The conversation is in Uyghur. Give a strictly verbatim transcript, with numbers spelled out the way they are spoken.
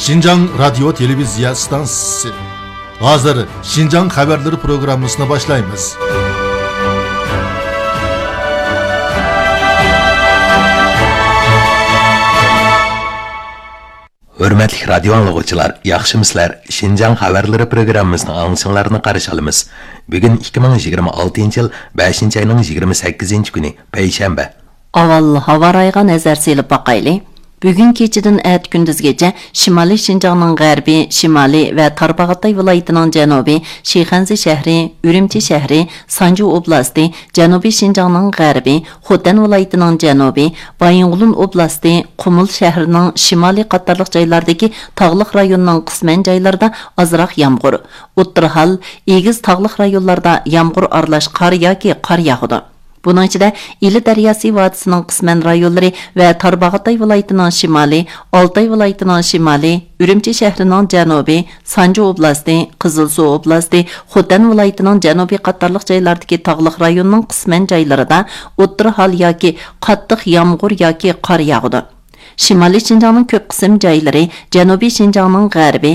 شىنجاڭ رادىيو تېلېۋىزىيە ئىستانسىسى. ھازىر شىنجاڭ خەۋەرلىرى پروگراممىسىنى باشلايمىز. ھۆرمەتلىك رادىيو ئاڭلىغۇچىلار، ياخشىمۇسىلەر؟ شىنجاڭ خەۋەرلىرى پروگراممىسىنىڭ ئاڭلىشىڭلارنى قارشى ئالىمىز. بۈگۈن ئىككى مىڭ يىگىرمە ئالتىنچى يىل بەشىنچى ئاينىڭ يىگىرمە سەككىزىنچى كۈنى، پەيشەنبە. ئاۋۋال ھاۋا رايىغا نەزەر سېلىپ باقايلى. بۈگۈن كېچىدىن ئەتە كۈندۈزگىچە شىمالىي شىنجاڭنىڭ غەربى، شىمالى ۋە تارباغاتاي ۋىلايىتىنىڭ جەنۇبى، شىخەنزە شەھىرى، ئۈرۈمچى شەھىرى، سانجۇ ئوبلاستى، جەنۇبىي شىنجاڭنىڭ غەربى، خوتەن ۋىلايىتىنىڭ جەنۇبى، بايىنغولىن ئوبلاستى، قۇمۇل شەھىرىنىڭ شىمالى قاتارلىق جايلاردىكى تاغلىق رايوننىڭ قىسمەن جايلىرىدا ئازراق يامغۇر، ئوتتۇرا ھال، ئېگىز تاغلىق رايونلاردا يامغۇر ئارىلاش قار ياكى قار ياغىدۇ. بۇنىڭ ئىچىدە ئىلى دەرياسى ۋادىسىنىڭ قىسمەن رايونلىرى ۋە تارباغاتاي ۋىلايىتىنىڭ شىمالى، ئالتاي ۋىلايىتىنىڭ شىمالى، ئۈرۈمچى شەھىرىنىڭ جەنۇبى، سانجۇ ئوبلاستى، قىزىلسۇ ئوبلاستى، خوتەن ۋىلايىتىنىڭ جەنۇبىي قاتارلىق جايلاردىكى تاغلىق رايوننىڭ قىسمەن جايلىرىدا ئوتتۇرا ھال ياكى قاتتىق يامغۇر ياكى قار ياغىدۇ. شىمالىي شىنجاڭنىڭ كۆپ قىسىم جايلىرى، جەنۇبىي شىنجاڭنىڭ غەربى،